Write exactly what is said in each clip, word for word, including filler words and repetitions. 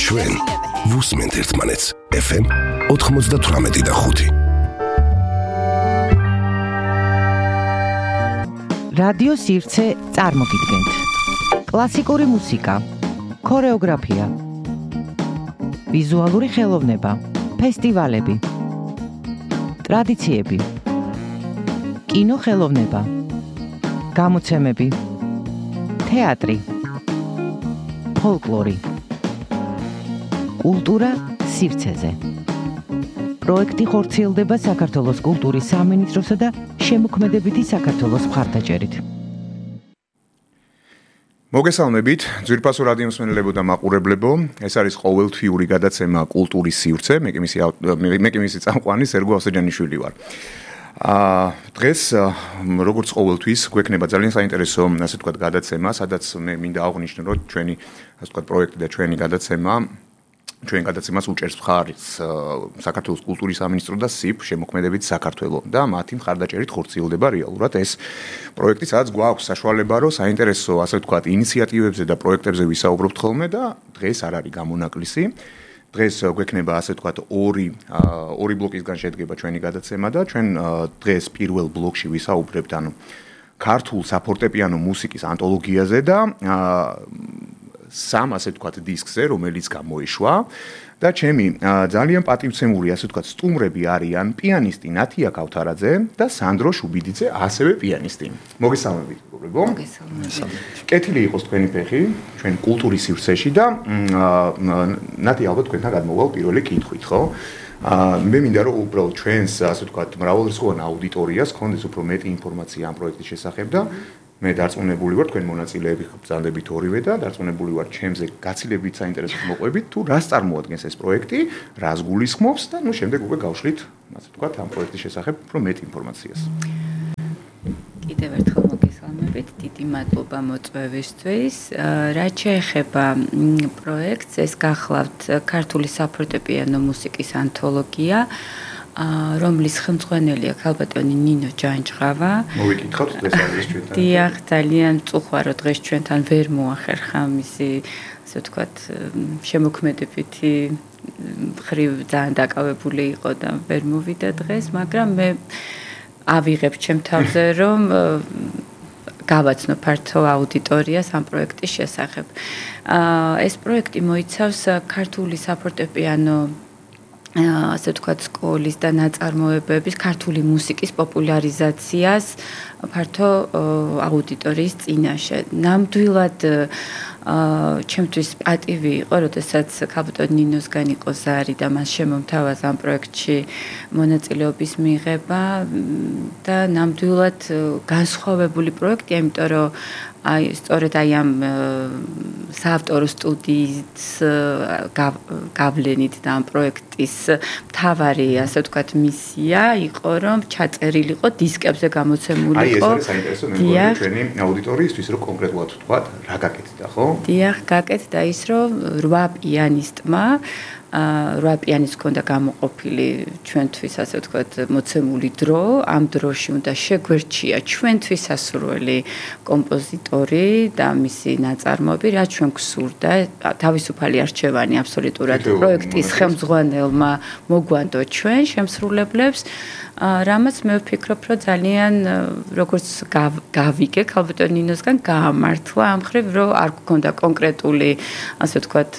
ჩვენ ვუსმენთ ერთმანეთს ეფ ემ ოთხმოცდათვრამეტი და ხუთი. რადიო სივრცე წარმოგიდგენთ. კლასიკური მუსიკა, ქორეოგრაფია, ვიზუალური ხელოვნება, ფესტივალები, ტრადიციები, კინო ხელოვნება, გამოცემები, თეატრი, ფოლკლორი, კულტურა სივრცეზე. პროექტი ხორციელდება საქართველოს კულტურის სამინისტროსა და შემოქმედებითი საქართველოს მხარდაჭერით. მოგესალმებით, ძვირფასო რადიო მსმენელებო და მაყურებლებო. ეს არის ყოველთვიური გადაცემა კულტურის სივრცე. მე კი მისი მე კი მისი წამყვანი სერგო ავსეჯანიშვილი ვარ. აა დღეს როგორც ყოველთვის გვექნება ძალიან საინტერესო, ასე ვთქვათ, გადაცემა, სადაც მე მინდა აღვნიშნო, რომ ჩვენი, ასე ვთქვათ, პროექტი და ჩვენი გადაცემა ჩვენ გადაცემას უჭერს მხარს საქართველოს კულტურის სამინისტრო და სიფ შემოქმედებით საქართველო და მათი მხარდაჭერით ხორციელდება რეალურად ეს პროექტი, სადაც გვაქვს საშუალება, რომ საინტერესო, ასე ვთქვათ, ინიციატივებზე და პროექტებზე ვისაუბრობთ ხოლმე და დღეს არ არის გამონაკლისი. დღეს გვექნება, ასე ვთქვათ, ორი ორი ბლოკისგან შედგება ჩვენი გადაცემა და ჩვენ დღეს პირველ ბლოკში ვისაუბრებთ, ანუ ქართულ საფორტეპიანო მუსიკის ანთოლოგიაზე და სამ, ასე ვთქვათ, დისკზე, რომელიც გამოიშვა და ჩემი ძალიან პატივცემული, ასე ვთქვათ, სტუმრები არიან პიანისტი ნათია ქავთარაძე და სანდრო შუბიძე, ასევე პიანისტი. მოგესალმებით, მეგობრებო. მოგესალმებით. კეთილი იყოს თქვენი ფეხი, ჩვენ კულტურის სივრცეში და ნათია, ალბათ თქვენთან გადმოვალ პირველი კითხვით, ხო? აა მე მინდა რომ უბრალოდ ჩვენს, ასე ვთქვათ, მრავალრიცხოვან აუდიტორიას ქონდეს უფრო მეტი ინფორმაცია ამ პროექტის შესახებ და მე დარწმუნებული ვარ თქვენ მონაწილეები ბრძანდებით ორივე და დარწმუნებული ვარ ჩემზე გაცილებით საინტერესო მოყვებით თუ რას წარმოადგენს ეს პროექტი, რას გულისხმობს და ნუ შემდეგ უკვე გავშლით, ასე ვთქვათ, ამ პროექტის შესახებ უფრო მეტ ინფორმაციას. კიდევ ერთხელ მოგესალმებით, დიდი მადლობა მოწვევისთვის. რაც შეეხება პროექტს, ეს გახლავთ ქართული საფორტეპიანო მუსიკის ანთოლოგია, რომლის ხელმძღვანელია ქალბატონი ნინო ჯანჯღავა. მოვიკითხავთ დღეს არის ჩვენთან. დიახ, ძალიან მწუხვარო დღეს ჩვენთან ვერ მოახერხა მისი, ასე ვთქვათ, შემოქმედებითი მხრივ ძალიან დაკავებული იყო და ვერ მოვიდა დღეს, მაგრამ მე ავიღებ ჩემ თავზე, რომ გავაცნო ფართო აუდიტორიას ამ პროექტის შესახებ. ეს პროექტი მოიცავს ქართული საფორტეპიანო ასე ვთქვათ, სკოლის და ნაწარმოებების ქართული მუსიკის პოპულარიზაციას ფართო აუდიტორიის წინაშე. ნამდვილად ჩემთვის პატივი იყო, როდესაც ქალბატონ ნინოსგან იყო ზარი და მას შემომთავაზა ამ პროექტში მონაწილეობის მიღება და ნამდვილად განსხვავებული პროექტია, იმიტომ რომ აი სწორედ აი ამ საავტორო სტუდიის გავლენით და ამ პროექტის მთავარი, ასე ვთქვათ, მისია იყო, რომ ჩაწერილიყო დისკებზე გამოცემულიყო. აი ეს არის საინტერესო, მე მგონი ჩვენი აუდიტორიისთვის, რომ კონკრეტულად ვთქვათ, რა გაკეთდა, ხო? დიახ, გაკეთდა ის, რომ რვა პიანისტმა რვა პიანისტს ჰქონდა გამოყოფილი ჩვენთვის, ასე ვთქვათ, მოცემული დრო, ამ დროში უნდა შეგვერჩია ჩვენთვის ასურველი კომპოზიტორი და მისი ნაწარმოები, რაც ჩვენ გვსურდა, თავისუფალი არჩევანი აბსოლუტურად პროექტის ხელმძღვანელმა მოგვანდო ჩვენ შემსრულებლებს, რამაც მე ვფიქრობ, რომ ძალიან როგორც გავიგე ქალბატონ ნინოსგან გაამართლა ამ ხრივ, რომ არ გქონდა კონკრეტული, ასე ვთქვათ,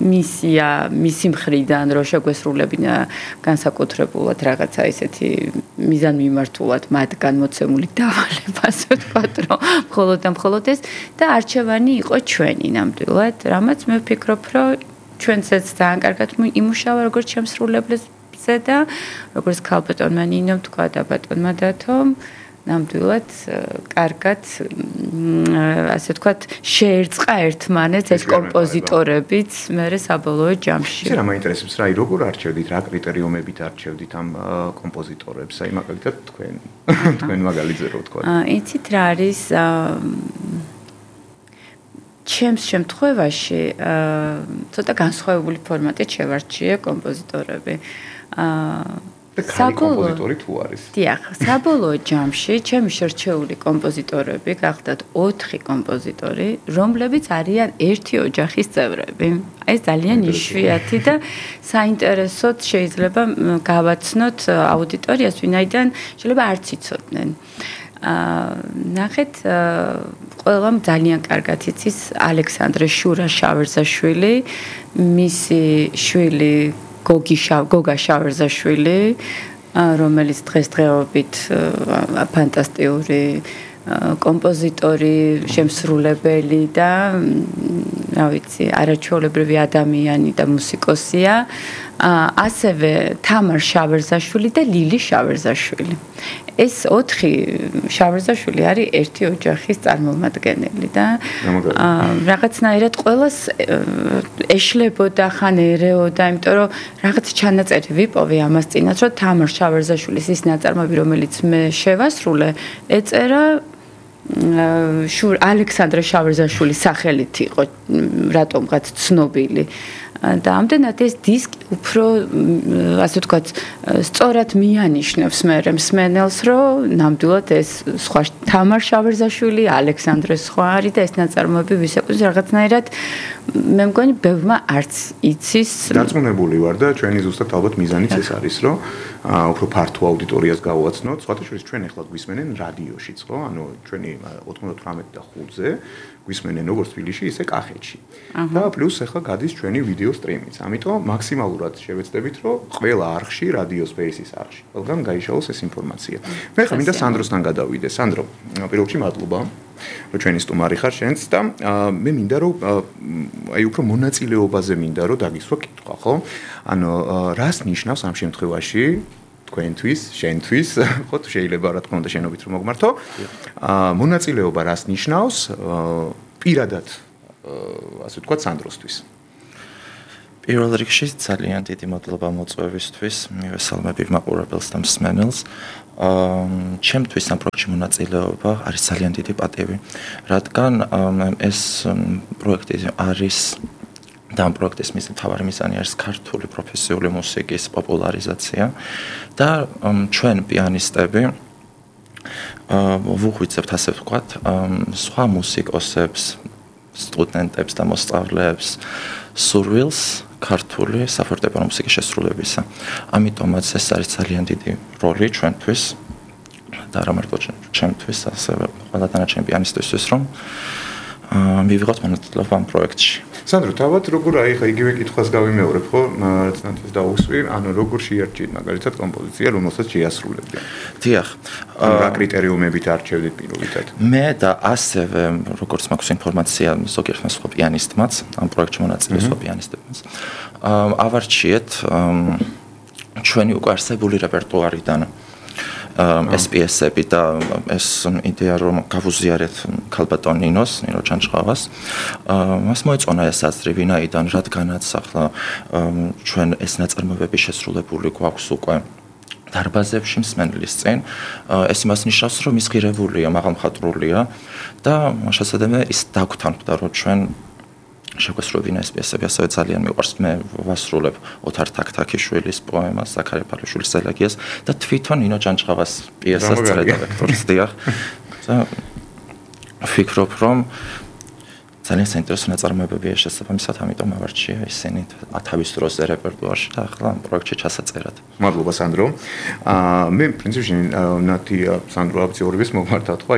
მისია მისი მხრიდან, რომ შეგვესრულებინა განსაკუთრებულად რაღაცა ისეთი მიზანმიმართულად მათგან მოცემული დავალება, ასე ვთქვათ, რომ მხოლოდ და მხოლოდ ეს და არჩევანი იყო ჩვენი ნამდვილად, რამაც მე ვფიქრობ, რომ ჩვენცაც ძალიან კარგად იმუშავა როგორც შემსრულებლებს და როგორც ქალბატონმა ნინომ თქვა და ბატონმა დათომ ნამდვილად კარგად ასე ვთქვათ შეერწყა ერთმანეთს ეს კომპოზიტორებიც მერე საბოლოო ჯამში. ისე რა მაინტერესებს რა, როგორ არჩევდით, რა კრიტერიუმებით არჩევდით ამ კომპოზიტორებს? აი მაგალითად თქვენ თქვენ მაგალითზე რო ვთქვათ. იცით რა არის ჩემს შემთხვევაში ცოტა განსხვავებული ფორმატით შევარჩიე კომპოზიტორები. და ქალი კომპოზიტორი თუ არის. დიახ, საბოლოო ჯამში ჩემი შერჩეული კომპოზიტორები გახდათ ოთხი კომპოზიტორი, რომლებიც არიან ერთი ოჯახის წევრები. აი ეს ძალიან იშვიათი და საინტერესოდ შეიძლება გავაცნოთ აუდიტორიას, ვინაიდან შეიძლება არც იცოდნენ. აა ნახეთ, ყველამ ძალიან კარგად იცის ალექსანდრე შურა შავერზაშვილი, მისი შვილი გოგი შავ გოგა შავერზაშვილი, რომელიც დღესდღეობით ფანტასტიკური კომპოზიტორი, შემსრულებელი და რა ვიცი, არაჩვეულებრივი ადამიანი და მუსიკოსია. ასევე თამარ შავერზაშვილი და ლილი შავერზაშვილი. ეს ოთხი შავერზაშვილი არის ერთი ოჯახის წარმომადგენელი და რაღაცნაირად ყველას ეშლებოდა ხან ერეოდა, იმიტომ რომ რაღაც ჩანაწერი ვიპოვე ამას წინათ, რომ თამარ შავერზაშვილის ის ნაწარმოები, რომელიც მე შევასრულე, ეწერა შურ ალექსანდრე შავერზაშვილის სახელით იყო რატომღაც ცნობილი. და ამდენად ეს დისკი უფრო ასე ვთქვათ სწორად მიანიშნებს მე მსმენელს, რომ ნამდვილად ეს სხვა თამარ შავერზაშვილი, ალექსანდრე სხვა არის და ეს ნაწარმოები ვისაკუთრებს რაღაცნაირად მე მგონი ბევრმა არც იცის. დარწმუნებული ვარ და ჩვენი ზუსტად ალბათ მიზანიც ეს არის, რომ უფრო ფართო აუდიტორიას გავუაცნოთ. სხვათა შორის ჩვენ ახლა გვისმენენ რადიოშიც, ხო? ანუ ჩვენი ოთხმოცდათვრამეტი და ხუთზე გვისმენენ როგორც თბილისში, ისე კახეთში. და პლუს ახლა გადის ჩვენი ვიდეო სტრიმიც. ამიტომ მაქსიმალურად შევეცდებით, რომ ყველა არხში, რადიო სპეისის არხში, ყველგან გაიშალოს ეს ინფორმაცია. მე ხა მინდა სანდროსთან გადავიდე. სანდრო, პირველ რიგში მადლობა, რომ ჩვენი სტუმარი ხარ შენც და მე მინდა რომ აი უფრო მონაწილეობაზე მინდა რომ დაგისვა კითხვა, ხო? ანუ რას ნიშნავს ამ შემთხვევაში თქვენთვის, შენთვის, ხო, შეიძლება რა თქმა უნდა შენობით რომ მოგმართო. აა მონაწილეობა რას ნიშნავს პირადად ასე ვთქვათ სანდროსთვის? პირველ რიგში ძალიან დიდი მადლობა მოწვევისთვის, მივესალმები მაყურებელს და მსმენელს. აა ჩემთვის ამ პროექტში მონაწილეობა არის ძალიან დიდი პატივი, რადგან ეს პროექტი არის და ამ პროექტის მთავარი მიზანი არის ქართული პროფესიული მუსიკის პოპულარიზაცია და ჩვენ პიანისტები აა ვუღვიძებთ ასე ვთქვათ სხვა მუსიკოსებს, სტუდენტებს და მოსწავლეებს სურვილს ქართული საფორტეპიანო მუსიკის შესრულებისა. ამიტომაც ეს არის ძალიან დიდი როლი ჩვენთვის და რა მარტო ჩვენთვის, ასევე ყველა დანარჩენ პიანისტისთვის, რომ მივიღოთ მონაწილეობა ამ პროექტში. სანდრო, თავად როგორ აი ხა იგივე კითხვას გავიმეორებ, ხო? რაც ნათეს დაუსვი, ანუ როგორ შეარჩიეთ მაგალითად კომპოზიცია, რომელსაც შეასრულებდი? დიახ. რა კრიტერიუმებით არჩევდით პირობითად? მე და ასევე როგორც მაქვს ინფორმაცია ზოგიერთმა სხვა პიანისტმაც, ამ პროექტში მონაწილე სხვა პიანისტებმაც, ავარჩიეთ ჩვენი უკვე არსებული რეპერტუარიდან ეს პიესები და ეს იდეა რომ გავუზიარეთ ქალბატონ ნინოს, ნინო ჩანჩხავას. მას მოეწონა ეს აზრი, ვინაიდან რადგანაც ახლა ჩვენ ეს ნაწარმოებები შესრულებული გვაქვს უკვე დარბაზებში მსმენელის წინ, ეს იმას ნიშნავს, რომ ის ღირებულია, მაღალმხატვრულია და შესაძლოა ის დაგვთანხმდა, რომ ჩვენ შეგვესრულებინა ეს პიესები, ასევე ძალიან მიყვარს. მე ვასრულებ ოთარ თაქთაქიშვილის პოემას, ზაქარია ფარაშვილის ელეგიას და თვითონ ნინო ჯანჯღავას პიესას წერდა ვექტორის, დიახ. და ვფიქრობ, რომ ძალიან საინტერესო ნაწარმოებებია შესაბამისად, ამიტომ ავარჩია ისინი თავის დროზე რეპერტუარში და ახლა ამ პროექტში ჩასაწერად. მადლობა სანდრო. აა მე პრინციპში ნათი სანდრო აბძეურების მოგმართავ, ხო?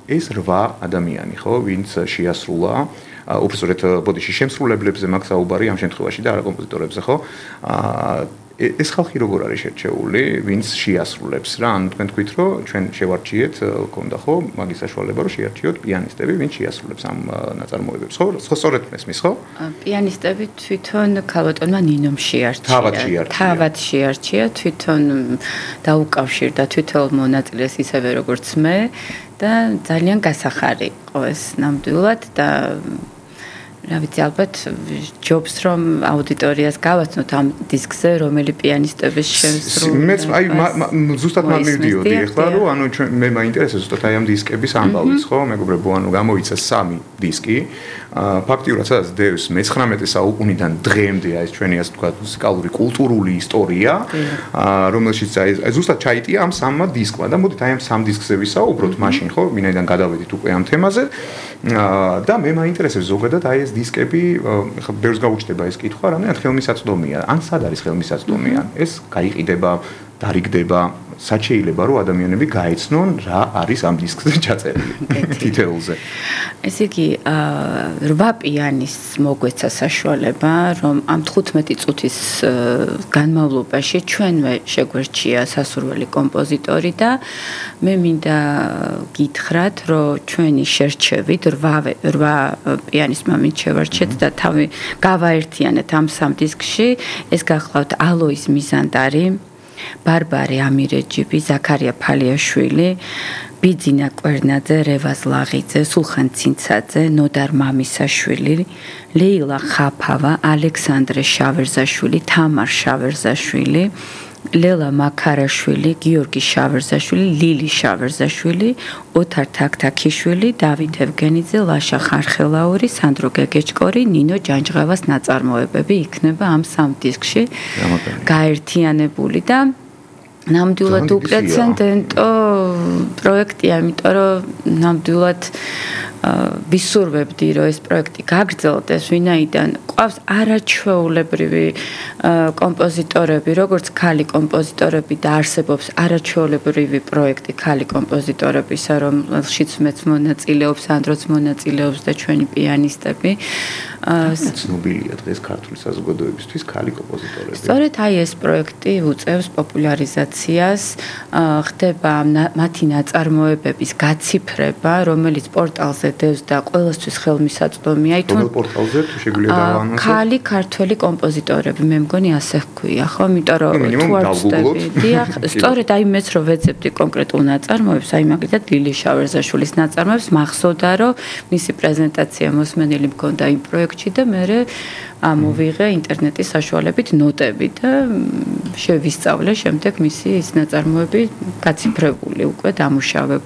ეს რვა ადამიანი, ხო, ვინც შეასრულა უბრალოდ ბოდიში შემსრულებლებზე მაქვს საუბარი ამ შემთხვევაში და არა კომპოზიტორებზე, ხო? აა ეს ხალხი როგორ არის შერჩეული, ვინც შეასრულებს რა? ანუ თქვენ თქვით, რომ ჩვენ შევარჩიეთ, ქონდა ხო, მაგის საშუალება, რომ შეარჩიოთ პიანისტები, ვინც შეასრულებს ამ ნაწარმოებებს, ხო? ხო, სწორედ მესმის, ხო? პიანისტები თვითონ ქალბატონმა ნინომ შეარჩია. თავად შეარჩია. თავად შეარჩია, თვითონ დაუკავშირდა თვითონ მონაწილეს ისევე როგორც მე და ძალიან გასახარი იყო ეს ნამდვილად და რა ვიცი, ალბათ ჯობს რომ აუდიტორიას გავაცნოთ ამ დისკზე, რომელი პიანისტების შემსრულებელი. მეც აი ზუსტად მან მივდიოდი ახლა, რომ ანუ ჩვენ მე მაინტერესებს ზუსტად აი ამ დისკების ამბავიც, ხო? მეგობრებო, ანუ გამოიცა სამი დისკი. ფაქტიურად სადაც დევს მეცხრამეტე საუკუნიდან დღემდე აი ეს ჩვენი ასე ვთქვათ მუსიკალური კულტურული ისტორია, რომელშიც აი ზუსტად ჩაიტია ამ სამმა დისკმა და მოდით აი ამ სამ დისკზე ვისაუბროთ მაშინ, ხო? ვინაიდან გადავედით უკვე ამ თემაზე. და მე მაინტერესებს ზოგადად აი ეს დისკები, ხა ბევრს გაუჩნდება ეს კითხვა, რამდენად ხელმისაწვდომია, ან სად არის ხელმისაწვდომი, ან ეს გაიყიდება, დარიგდება, სად შეიძლება რომ ადამიანები გაეცნონ რა არის ამ დისკზე ჩაწერილი თითოეულზე. ესე იგი, რვა პიანისტს მოგვეცა საშუალება, რომ ამ თხუთმეტი წუთის განმავლობაში ჩვენვე შეგვერჩია სასურველი კომპოზიტორი და მე მინდა გითხრათ, რომ ჩვენი შერჩევით რვა პიანისტმა მით შევარჩეთ და თავი გავაერთიანეთ ამ სამ დისკში, ეს გახლავთ ალოიზ მიზანდარი, ბარბარე ამირეჯიბი, ზაქარია ფალიაშვილი, ბიძინა კვერნაძე, რევაზ ლაღიძე, სულხან ცინცაძე, ნოდარ მამისაშვილი, ლეილა ხაფავა, ალექსანდრე შავერზაშვილი, თამარ შავერზაშვილი, ლელა მაქარაშვილი, გიორგი შავერზაშვილი, ლილი შავერზაშვილი, ოთარ თაქთაქიშვილი, დავით ევგენიძე, ლაშა ხარხელაური, სანდრო გეგეჭკორი, ნინო ჯანჯღავას ნაწარმოებები იქნება ამ სამ დისკში გაერთიანებული და ნამდვილად უპრეცედენტო პროექტია, იმიტომ რომ ნამდვილად ვისურვებდი, რომ ეს პროექტი გაგრძელდეს, ვინაიდან ყავს არაჩვეულებრივი კომპოზიტორები, როგორც ქალი კომპოზიტორები და არსებობს არაჩვეულებრივი პროექტი ქალი კომპოზიტორებისა, რომელშიც მეც მონაწილეობს, ანდროც მონაწილეობს და ჩვენი პიანისტები. ცნობილია დღეს ქართული საზოგადოებისთვის ქალი კომპოზიტორები. სწორედ აი ეს პროექტი უწევს პოპულარიზაციას, ხდება მათი ნაწარმოებების გაციფრება, რომელიც პორტალზე დევს და ყველასთვის ხელმისაწვდომია. რომელ პორტალზე თუ შეგვიძლია დავაანონსოთ? ქალი ქართველი კომპოზიტორები, მე მგონი ასე ჰქვია, ხო? იმიტომ რომ თუ არ ვწდები, დიახ, სწორედ აი მეც რო ვეძებდი კონკრეტულ ნაწარმოებს, აი მაგალითად ლილი შავერზაშვილის ნაწარმოებს, მახსოვდა რომ მისი პრეზენტაცია მოსმენილი მქონდა იმ პროექტში და მე ამოვიღე ინტერნეტის საშუალებით ნოტები და შევისწავლე შემდეგ მისი ის ნაწარმოები გაციფრებული უკვე დამუშავებული.